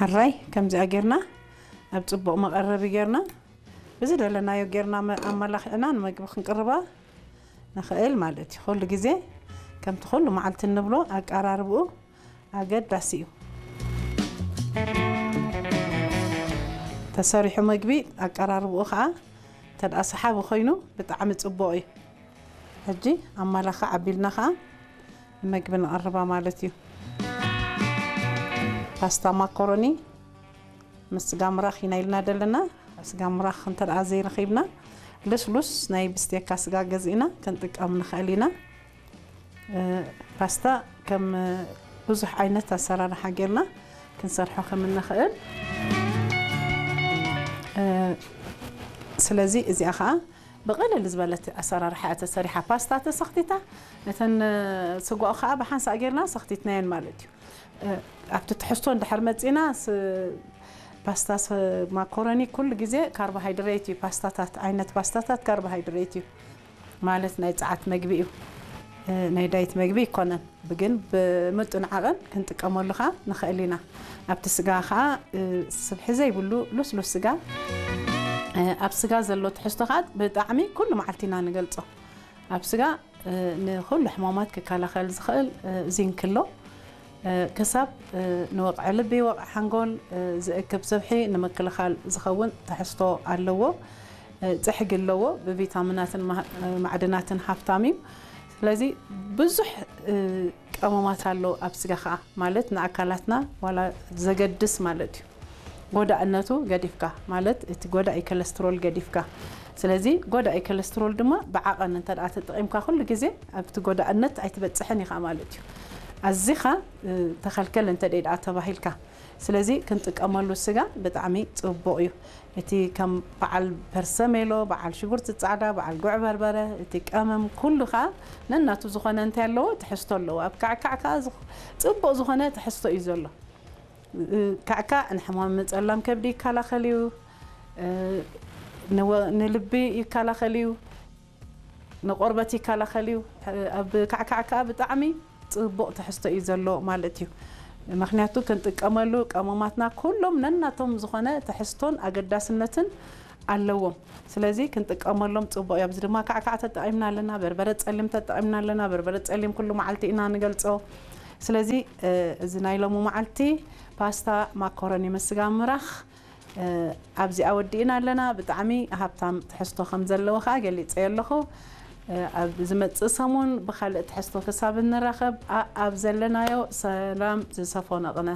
ሕራይ ከምዚኣ ጌርና ኣብ ጽቡቕ መቐረቢ ጌርና ብዝደለናዮ ጌርና መ-፣ ኣመላኺዕና ንመግቢ ክንቅርባ ንኽእል ማለት እዩ። ኩሉ ግዜ ከምቲ ኩሉ መዓልቲ እንብሎ ኣቀራርብኡ ኣገዳሲ እዩ። ተሰሪሑ መግቢ ኣቀራርብኡ ኸዓ እንተ ደኣ ሰሓቢ ኮይኑ ብጣዕሚ ጽቡቕ እዩ። ሕጂ ኣመላኽዕ ኣቢልና ኸዓ ንመግቢ ንቐርባ ማለት እዩ። ፓስታ ማኮሮኒ ምስ ስጋ ምራኽ ኢና ኢልና ደለና። ስጋ ምራኽ እንተ ደኣ ዘይረኺብና ልስሉስ ናይ ብስቴካ ስጋ ገዚእና ክንጥቀም ንኽእል ኢና። እ፣ ፓስታ ከም ብዙሕ ዓይነት ኣሰራርሓ ጌርና ክንሰርሖ ከም እንኽእል። እ፣ ስለዚ እዚኣ ኸዓ ብቕልል ዝበለት ኣሰራርሓ እያ ተሰሪሓ። ፓስታ ተሰኽቲታ፣ እተን ስጓኡ ኸዓ ብሓንሳእ ጌርና ሰኽቲትናየን ማለት እዩ። እ፣ ኣብቲ ትሕዝቶ እንድሕር መጺና፣ ስ-፣ ፓስታ ስ-፣ ማኮረኒ ኩሉ ግዜ ካርቦሃይድሬት እዩ። ፓስታታት፣ ዓይነት ፓስታታት ካርቦሃይድሬት እዩ። ማለት ናይ ጸዓት መግቢ እዩ። እ፣ ናይ ዳይት መግቢ ይኮነን። ብግን ብምጡን ዓቐን ክንጥቀመሉ ኸዓ ንኽእል ኢና። ኣብቲ ስጋ ኸዓ፣ እ፣ ስብሒ ዘይብሉ ልስሉስ ስጋ፣ እ፣ ኣብ ስጋ ዘሎ ትሕዝቶ ኸዓ ብጣዕሚ ኩሉ መዓልቲ ኢና ንገልጾ። ኣብ ስጋ፣ እ፣ ንኹሉ ሕማማት ክከላኸል ዝኽእል፣ እ፣ ዚንክ ኣሎ። እ፣ ክሳብ፣ እ፣ ንወቕዒ ልቢ፣ ወቕዒ ሓንጎል፣ እ፣ ዝእክብ ስብሒ ንምክልኻል ዝኸውን ትሕዝቶ ኣለዎ። እ፣ ጽሕጊ ኣለዎ። ብቪታሚናትን ማ-፣ እ፣ ማዕድናትን ሃፍታም እዩ። ስለዚ ብዙሕ፣ እ፣ ቀመማት ኣሎ ኣብ ስጋ ኸዓ፣ ማለት ንኣካላትና ዋላ ዘገድስ ማለት እዩ። ጎዳእነቱ ገዲፍካ፣ ማለት እቲ ጎዳኢ ኮለስትሮል ገዲፍካ። ስለዚ ጎዳኢ ኮለስትሮል ድማ ብዓቐን እንተ ደኣ ተጠቒምካ፣ ኩሉ ግዜ ኣብቲ ጎዳእነት ኣይትበጽሕን ኢኻ ማለት እዩ። ኣዚኻ፣ እ፣ ተኸልከል እንተ ደኣ ተባሂልካ። ስለዚ ክንጥቀመሉ ስጋ ብጣዕሚ ጽቡቕ እዩ። እቲ ከም በዓል ፐርሰሜሎ፣ በዓል ሽጉርቲ ጻዕዳ፣ በዓል ጉዕ በርበረ፣ እቲ ቀመም ኩሉ ኸዓ ነናቱ ዝኾነ እንታይ ኣለዎ? ትሕዝቶ ኣለዎ። ኣብ ካዕካዕ ከኣ ዝኽ-፣ ጽቡቕ ዝኾነ ትሕዝቶ እዩ ዘሎ። እ፣ ካዕካዕ ንሕማም ጸላም ከብዲ ይከላኸል እዩ። እ፣ ንወ-፣ ንልቢ ይከላኸል እዩ። ንቆርበት ይከላኸል እዩ። ኣብ ካዕካዕ ከኣ ብጣዕሚ ጽቡቕ ትሕዝቶ እዩ ዘሎ ማለት እዩ። ምኽንያቱ ክንጥቀመሉ ቀመማትና ኩሎም ነናቶም ዝኾነ ትሕዝቶን ኣገዳስነትን ኣለዎም። ስለዚ ክንጥቀመሎም ጽቡቕ እዩ። ኣብዚ ድማ ካዕካዕ ተጠቒምና ኣለና፣ በርበረ ጸሊም ተጠቒምና ኣለና። በርበረ ጸሊም ኩሉ መዓልቲ ኢና ንገልጾ። ስለዚ፣ እ፣ እዚ ናይ ሎሚ መዓልቲ ፓስታ ማኮረኒ ምስ ስጋ ምራኽ እ፣ ኣብዚኣ ወዲእና ኣለና። ብጣዕሚ ሃብታም ትሕዝቶ ከም ዘለዎ ከኣ ገሊጸዮ ኣለኹ። እ፣ ኣብ ዝመጽእ ሰሙን ብኻልእ ትሕዝቶ ክሳብ እንራኸብ፣ ኣ-፣ ኣብ ዘለናዮ ሰላም ዝሰፈኖ ቅነ።